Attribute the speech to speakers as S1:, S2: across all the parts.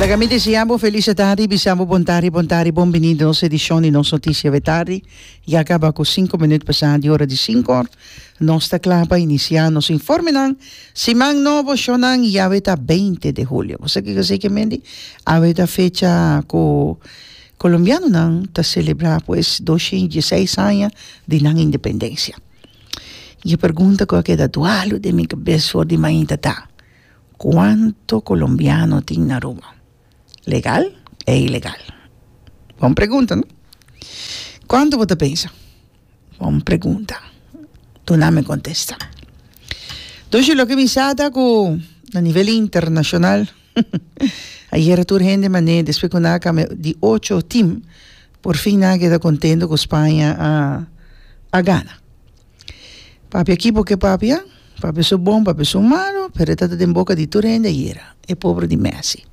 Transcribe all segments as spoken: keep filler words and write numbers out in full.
S1: Laga mi desea bo felis tardi, bisa bo bon tardi, bon tardi, bon bini den nos edicion di nos noticia awe tardi. Ya caba cu cinco minuut pasa di ora di cinco or. Nos ta cla pa inicia nos informenan. Siman nobo, shonnan, y awe ta binti di julio. Bo sa kico esey ke mende? Awe ta fecha cu Colombianonan ta celebra pues doscientos diesseis aña di nan independencia. Y e pregunta cu a keda dualo den mi cabes for di mainta ta, cuanto Colombiano tin na Aruba? Legal e ilegal? Bon pregunta, no? Cuanto bo ta pensa? Bon pregunta. Duna mi contesta. Entonces, loke mi sa ta cu na nivel internacional, ayera tur hende mane, despues cu nan a cambia di ocho team, por fin nan a keda contento cu Spaña a, a gana. Papia ekipo ke papia, papia su bon, papia su malo, pero e ta den boca di tur hende ayera, e pobre di Messi.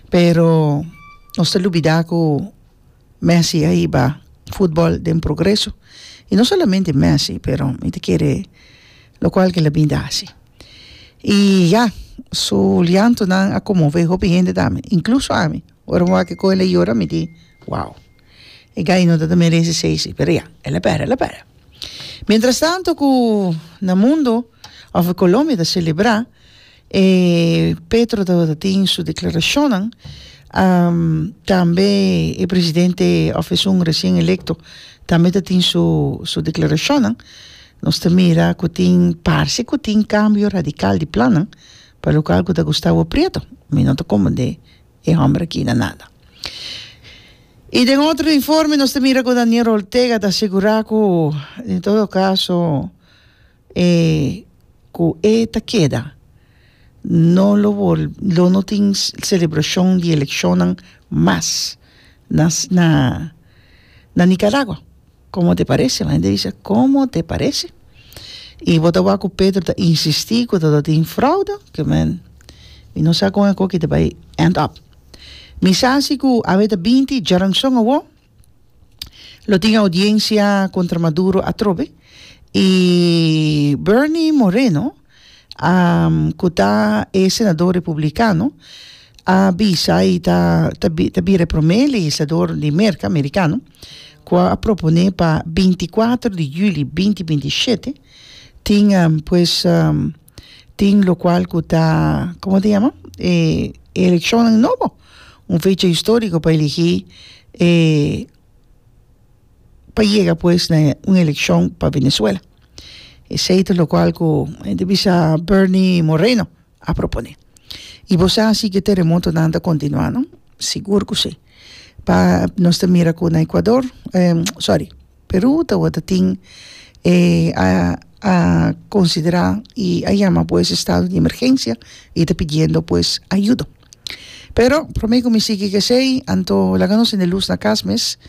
S1: Pero nos ta lubida cu Messi a hiba futbol den progreso. Y no solamente Messi, pero mi ta kere locual cu el a bin ta haci. Y ya, su llantonan a conmove hopi hende tambe, incluso ami. Ora mi wak cu el a yora, mi di, wow. E guy no ta merece esey, pero ya, el a pera, el a pera. Mientras tanto cu na mundo, of Colombia ta celebra, eh, Petro tabata tin su declaracionnan, um, tambe e presidente of esun recien electo tambe ta tin su, su declaracionnan. Nos ta mira cu tin parce cu tin cambio radical di plannan pa locual cu ta Gustavo Prieto. Mi no ta comprende e homber aki na nada. Y den otro informe nos ta mira cu Daniel Ortega ta asegura cu en todo caso eh, cu e ta keda no lo vol, lo no tin celebracion di eleccionnan mas na, na, na Nicaragua. ¿Cómo te parece? La gente dice, ¿cómo te parece? Y bo ta wak cu Petro ta insisti cu ta tin fraude, ke men, mi no sa con e cos aki ta bay end up. Mi sa si cu awe ta binti, djaranson awo, lo tin audiencia contra Maduro atrobe, y Bernie Moreno, um, cu ta e senador republicano, a bisa y ta, ta, ta bira prome legislador di Merca, americano, cu a propone pa binticuater di juli binti bintisiete, tin um, pues um, tin locual cu ta, con ta yama? Eh, eleccion nobo, un fecha historico pa elegi eh, pa yega pues na un eleccion pa Venezuela. Esey ta locual cu bisa Bernie Moreno a propone. Y bo sa cu teremotonan ta continua, no? Sigur cu si. Pa nos mira cu na Ecuador, eh, sorry, Peru ta tin eh, a, a considera y a yama pues estado di emergencia y ta pidiendo pues ayuda. Pero prome cu mi sigui cu esey, anto laga nos cende luz na cas mes.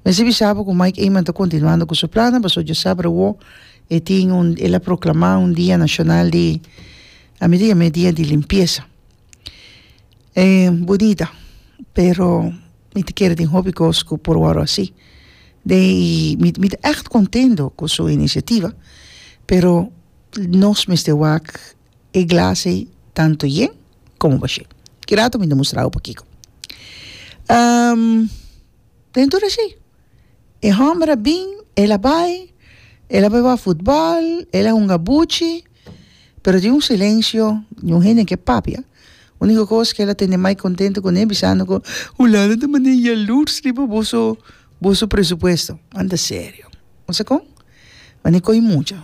S1: Mester bisa bo cu Mike Eman ta continuando cu su plan, paso diasabra awo e tin un el a proclama un dia nacional di a medida dia di limpieza. Eh, bunita, pero mi ta kere tin hopi cos cu por word asina. De mi mi echt contento cu su iniciativa, pero nos mester wak e glas tanto yen como bashi. Ki rato mi ta mustra un poquito. Um, dentro asina. E homber a bin, el a bay, el a bay wak futbol, el a hunga buchi, pero tin un silencio, un hende cu papia. Unico cos cu el a tende mas contento cu ne, bisando cu Hulanda ta manera jaloers riba boso boso presupuesto. Anda serio. No sa con? Ma coi mucho.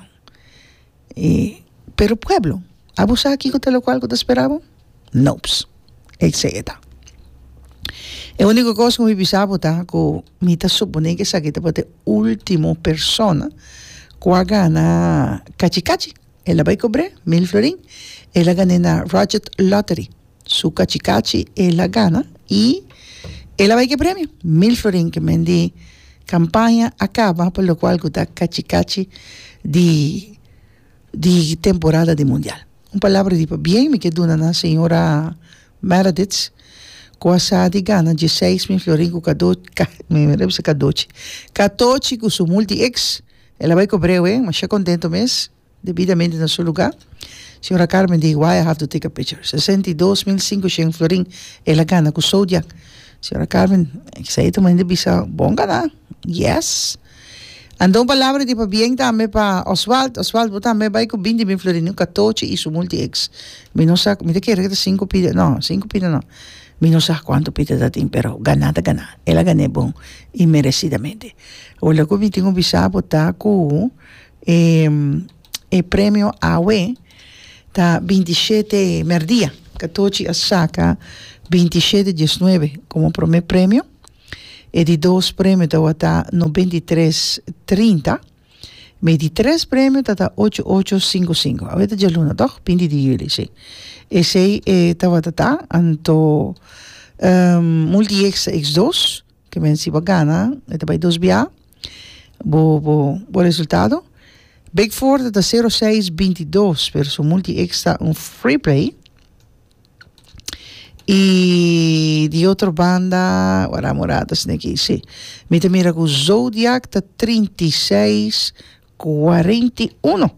S1: E, pero pueblo, abo sa kico ta locual cu ta spera bo? Nope. Esey ta. E unico cos cu mi bisa bo ta cu mi ta supone cu esaki ta e ultimo persona cu a gana cachi cachi. El a bay cobra mil florin. El a gana na Rocket Lottery. Su cachi cachi el a gana y el a bay cu premio. Mil florin ke men di campaña a caba pa locual cu ta cachi cachi di di temporada di mundial. Un palabra di bien mi ke duna na señora Meredith cu a sa di gana diesseis mil florin cu cado mi mi bisa cadochi catochi cu su multi X. El a bay cobra, eh, masha contento mes, debidamente na su lugar. Señora Carmen di, "Why I have to take a picture?" Sesenta i dos mil sinkushen florin el a gana ku Zodiac. Señora Carmen, esei ta manda bisa bon gana. Yes. Anto un palabra di pabien tambe pa Oswald. Oswald, bo tambe bai ku binti mil florin, un katochi i su multi X. Mi no sa, mi ta kere ku ta sinku pida, no, sinku pida no. Mi no sa kuantu pida ta tin, pero ganá ta ganá. El a gan'é bon i meresidamente. Awor loke mi tin ku bisa bo ta ku e e premio awe ta binti shete mèrdia. Katochi a saka binti shete diesnuebe komo promé premio. E di dos premio tabata noventa i tres trinta. Mi di tres premio ta ta ocho ocho sinku sinku. Awe ta djaluna tòg? Binti di yüli, si. Esei e tabata ta. Anto Multi X ta X dos, ke men si bo a gana e ta bai dos bia bo bo bo resultado. Big Four ta ta sero seis binti dos, pero su Multi X ta un free play. I di otro banda, wara murata sneki, si. Mi ta mira ku Zodiac ta trinta i seis kuarenta i uno.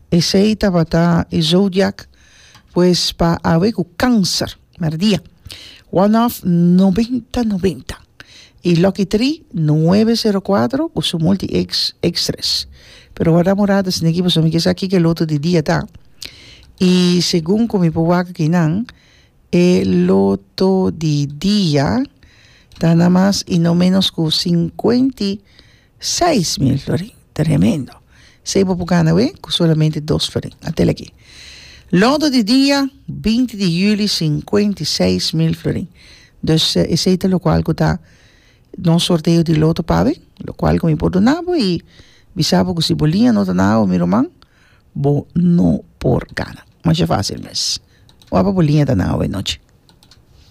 S1: Esei tabata e Zodiac, pues pa awe ku Kanser, merdia. One off noventa noventa. I Lucky Tree nuebe sero kuatro ku su multi X X tres. Pero wara murata sneki pasobra mi ke sa kiko e loto di dia ta. I segun ku mi por wak akinan, E loto di dia ta na mas y no menos cu cincuenta y seis mil florin. Tremendo! Esey bo por gana awe cu solamente dos florin. Atel aki. Loto di dia, binti di juli, cincuenta y seis mil florin. Dus esey ta locual cu ta nos sorteo di loto pa awe, locual cu mi por duna bo y bisa bo cu si bo liña no ta na awe, mi ruman, bo no por gana. Masha fácil mes. Wak pa bo liña ta na awe nochi.